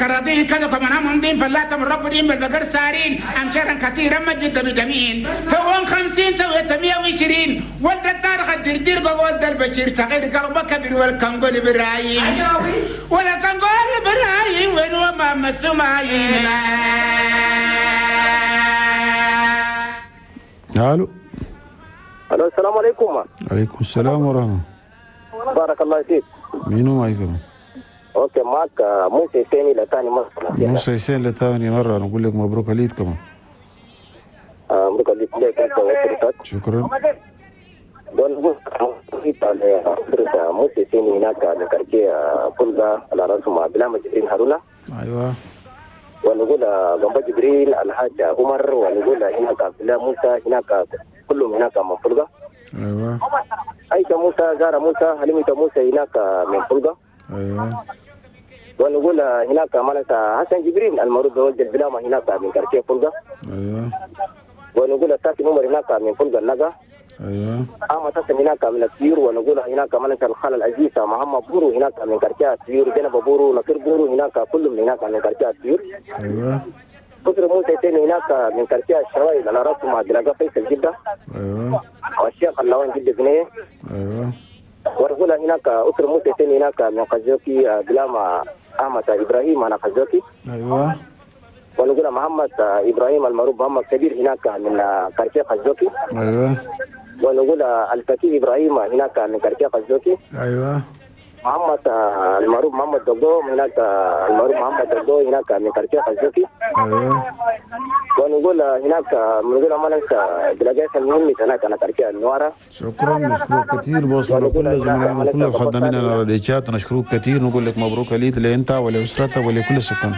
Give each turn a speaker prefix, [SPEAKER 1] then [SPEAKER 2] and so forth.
[SPEAKER 1] الكراضين كذا كمان هم فلاته من رب بالبقر سارين أمشارا كثيرا مجد بدمين فوق 50 سويت 120 ولد التاريخ الدردير ولد البشير صغير قلبه كبير والكنغول برايم ولا كنغول برايم وين وما مسمعين.
[SPEAKER 2] الو
[SPEAKER 3] الو السلام عليكم.
[SPEAKER 2] عليكم السلام ورحمة.
[SPEAKER 3] بارك الله فيك.
[SPEAKER 2] مين معي كمان؟
[SPEAKER 3] okay معك موسى حسيني لثاني مرة.
[SPEAKER 2] موسى حسين لثاني مرة، نقول لك مبروك عليك كمان.
[SPEAKER 3] مبروك عليك لك انت واسرتك.
[SPEAKER 2] شكرا.
[SPEAKER 3] موسى حسيني هناك من quartier فلقة على راسهم بلامة جبرين هارونا.
[SPEAKER 2] ايوه.
[SPEAKER 3] ونقول جنب جبريل الحاج عمر، ونقول هناك عبد الله موسى، هناك كلهم هناك من فلقة.
[SPEAKER 2] ايوه.
[SPEAKER 3] عائشة موسى، زارة موسى، حليمة موسى هناك من فلقة.
[SPEAKER 2] ايوه.
[SPEAKER 3] ونقول هناك مالك حسن جبريل المعروف بولد البلامة هناك من quartier فلقة.
[SPEAKER 2] ايوه.
[SPEAKER 3] ونقول ساكن عمر هناك من فلقة النقا.
[SPEAKER 2] ايوه.
[SPEAKER 3] احمد حسن هناك من السيور. ونقول هناك مالك الخال العزيز محمد بورو هناك من quartier السيور، جنب بورو، نصير بورو هناك كلهم هناك من quartier السيور.
[SPEAKER 2] ايوه.
[SPEAKER 3] بكر موسى ثاني هناك من quartier الشرايل على راسه مع دلاقة فيصل جدة.
[SPEAKER 2] ايوه.
[SPEAKER 3] والشيخ اللوان جدة بنيه.
[SPEAKER 2] ايوه.
[SPEAKER 3] ونقول هناك أسر موسى ثاني هناك من قزوكي بلاما أحمد إبراهيم أنا قزوكي.
[SPEAKER 2] ايوه.
[SPEAKER 3] ونقول محمد إبراهيم المعروف محمد كبير هناك من quartier قزوكي.
[SPEAKER 2] ايوه.
[SPEAKER 3] ونقول الفكي إبراهيم هناك من quartier قزوكي.
[SPEAKER 2] ايوه.
[SPEAKER 3] محمد المعروف محمد دقو هناك المعروف محمد دقو هناك من quartier قزوكي.
[SPEAKER 2] ايوه.
[SPEAKER 3] ونقول هناك بنقول ما ننسى بلاجات المهم هناك انا quartier النوارة.
[SPEAKER 2] شكرا، نشكرك كثير بوصل لكل زملائنا وكل الخدامين على الريتشات، ونشكرك كثير، نقول لك مبروك العيد لانت ولاسرتك ولكل السكان.